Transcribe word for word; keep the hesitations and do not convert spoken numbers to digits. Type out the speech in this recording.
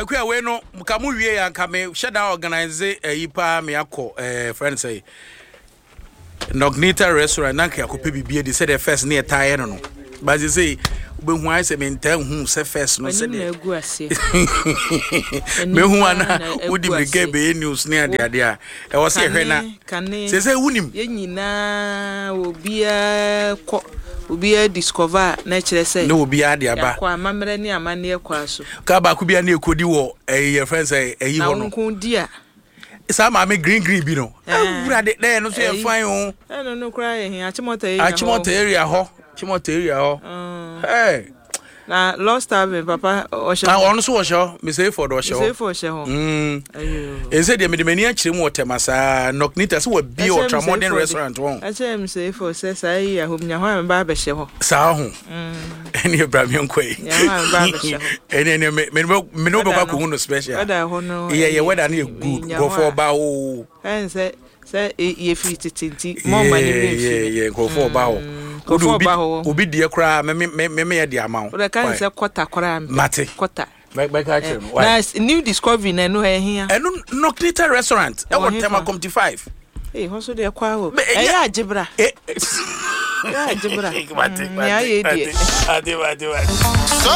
Akua wei no ka mo wie a, nka me hyɛ da organise ayi paa, me akɔ ɛɛ friend sɛ Nognita Restaurant na nka akɔpɛ biribi adi sɛdeɛ first ne yɛtaa yɛ no no But sɛ wobɛhu ayɛ sɛ mentaa hu sɛ first no. W'anim na sɛdeɛ agu aseɛ. mehu paa ana na agu wodi mmirika aseɛ. bɛyɛ news ne adeade a ɛwɔ sɛ yɛhwɛ na Kane kane sɛ sɛ wonim. Yɛn nyinaa, obiara kɔ, obiara discover a, na kyerɛ sɛ ne obiara de aba. Yɛakɔ amammerɛ ne amanneɛ kɔ so. Ka baako bi a ne ɛkɔdi wɔ ɛyi, yɛfrɛ sɛ ɛyi na hɔ wo no nko di a saa maame green green bi no. Eh. Awurade, na ɛno nso yɛ Ɛyi. fine o. Ɛno no koraa yɛ hia Achimota area hɔ. Achimota area hɔ, Achimota area hɔ. Mm. Hey. Na Lost Tavern papa ɔhyɛ Na ɔno nso wɔhyɛ hɔ, Mister Eford ɔhyɛ hɔ. Sefo ɔhyɛ hɔ. Mm. Ayo. Ɛnsɛ deɛ mede m'ani akyerɛ mu wɔ Tɛma saa Nocnita sɛ wabie Ɛkyerɛ Ultra Mister Modern Eford. Restaurant wɔn. Ɛkyerɛ m sɛ efo sɛ saa yi ahom nya hɔ a meba abɛhyɛ hɔ. Saa ho ɛne ɛbra me nkɔ yi. Nya hɔ a meba abɛhyɛ hɔ. ɛne ɛne me me me ne wobɛkɔ Weather no- akɔhu no special. Weather hɔ no yɛ yɛ ɛyɛ- weather no yɛ good. nya hɔ nkurɔfoɔ a- ba o. Ɛn sɛ sɛ e- yɛfiri tete nti mɔma ne werɛ yɛ mfiri. yɛ nkurɔfoɔ ba hɔ. Wode Nkurɔfoɔ obi ba hɔ. Obi deɛ koraa me me me me yɛ de ama wo. Wode ka ne Why? sɛ kɔta koraa mpɛ. Mate. Kɔta. Bɛ- bɛka kyerɛ no. Why? Na s- new discovery na ɛno ɛhia. Ɛno Nocnita Restaurant Ɛwɔ ɛwɔ hefa? Tema Community five. Ee, hɔ so deɛ kɔ ahɔ. Bɛ- ɛnyɛ- ɛyɛ agyebra. Eh, Ɛyɛ agyebra. Mate, Mm, nea ayɛ mate, deɛ. mate, mate, mate.